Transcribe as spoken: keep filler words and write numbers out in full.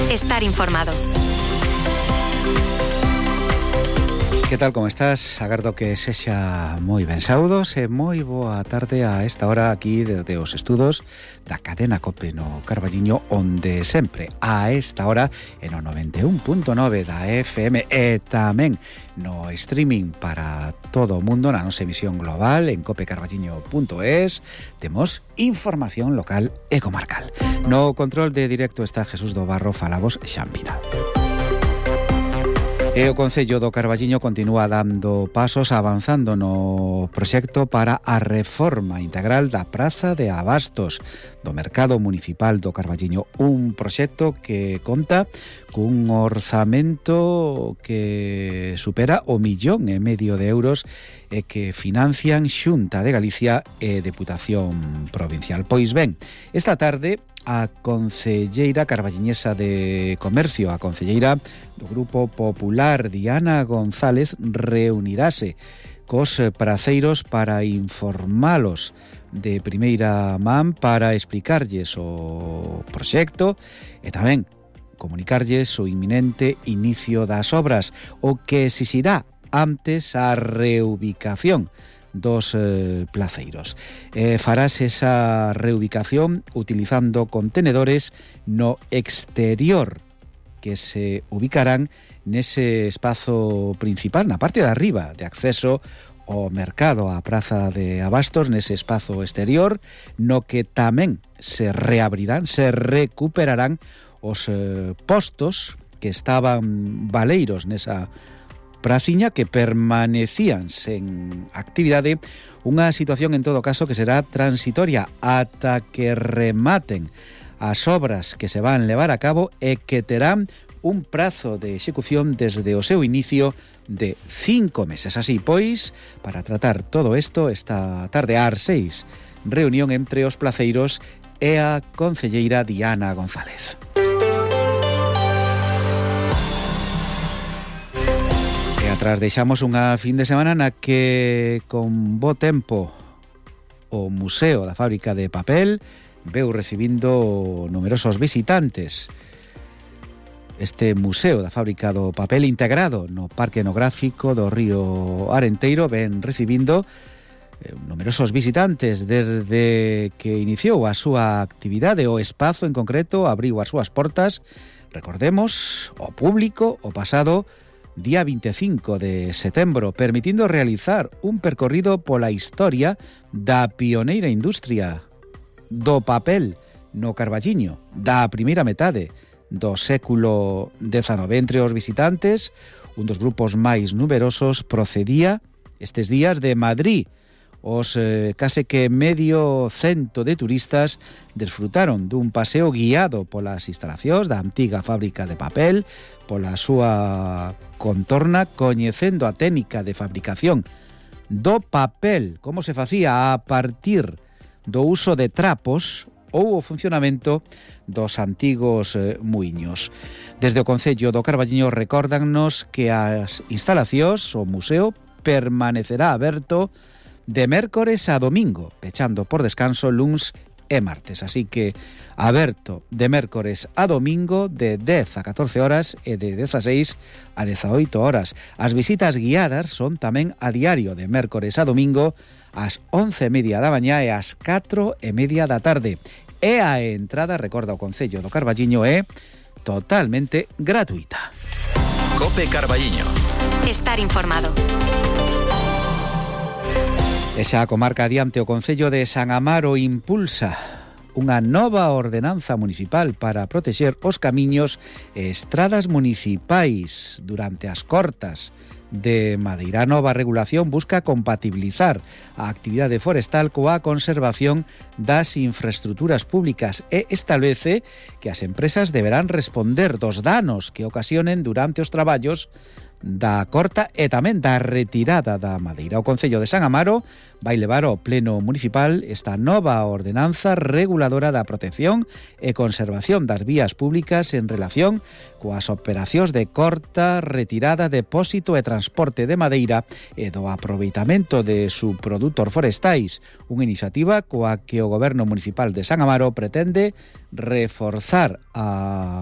Estar informado. Que tal, como estás? Agardo que sexa moi ben. Saúdos e moi boa tarde a esta hora aquí desde os estudos da cadena COPE no Carballiño, onde sempre a esta hora en o noventa e un punto nove da F M e tamén no streaming para todo o mundo na nosa emisión global en cope carballiño punto es temos información local e comarcal. No control de directo está Jesús do Barro, falamos Xampina. E o Concello do Carballiño continúa dando pasos avanzando no proxecto para a reforma integral da Praza de Abastos do Mercado Municipal do Carballiño, un proxecto que conta cun orzamento que supera o millón e medio de euros e que financian Xunta de Galicia e Deputación Provincial. Pois ben, esta tarde a concelleira carballiñesa de Comercio, a concelleira do Grupo Popular, Diana González, reunirase cos praceiros para informalos de primeira man, para explicarlles o proxecto e tamén comunicarlles o inminente inicio das obras, o que exixirá antes a reubicación dos eh, placeiros. Eh, farás esa reubicación utilizando contenedores no exterior que se ubicarán nese espazo principal, na parte de arriba de acceso ao mercado, á Praza de Abastos, nese espazo exterior, no que tamén se reabrirán, se recuperarán os eh, postos que estaban baleiros nesa praciña, que permanecían sen actividade, unha situación en todo caso que será transitoria ata que rematen as obras que se van levar a cabo e que terán un prazo de execución desde o seu inicio de cinco meses. Así pois, para tratar todo isto, esta tarde ás seis, reunión entre os placeiros e a concelleira Diana González. Atrás deixamos unha fin de semana na que, con bo tempo, o Museo da Fábrica de Papel veu recibindo numerosos visitantes. Este Museo da Fábrica do Papel, integrado no Parque Etnográfico do Río Arenteiro, ven recibindo eh, numerosos visitantes desde que iniciou a súa actividade. O espazo en concreto abriu as súas portas, recordemos, ao público o pasado día vinte e cinco de setembro, permitindo realizar un percorrido pola historia da pioneira industria do papel no Carballiño da primeira metade do século dezanove. Entre os visitantes, un dos grupos máis numerosos procedía estes días de Madrid. Os eh, case que medio cento de turistas desfrutaron dun paseo guiado polas instalacións da antiga fábrica de papel, pola súa contorna, coñecendo a técnica de fabricación do papel, como se facía a partir do uso de trapos ou o funcionamento dos antigos eh, muiños. Desde o Concello do Carballiño recórdannos que as instalacións, o museo, permanecerá aberto de mércores a domingo, pechando por descanso luns e martes. Así que aberto de mércores a domingo de dez a catorce horas e de dezaseis a dezaoito horas. As visitas guiadas son tamén a diario de mércores a domingo ás once e media da mañá e ás catro e media da tarde. E a entrada, recorda o Concello do Carballiño, é totalmente gratuita. Cope Carballiño. Estar informado. E xa a comarca adiante, o Concello de San Amaro impulsa unha nova ordenanza municipal para protexer os camiños e estradas municipais durante as cortas de madeira. A nova regulación busca compatibilizar a actividade forestal coa conservación das infraestruturas públicas e establece que as empresas deberán responder dos danos que ocasionen durante os traballos da corta e tamén da retirada da madeira. O Concello de San Amaro vai levar ao Pleno Municipal esta nova ordenanza reguladora da protección e conservación das vías públicas en relación coas operacións de corta, retirada, depósito e transporte de madeira e do aproveitamento de subprodutos forestais, unha iniciativa coa que o Goberno Municipal de San Amaro pretende reforzar a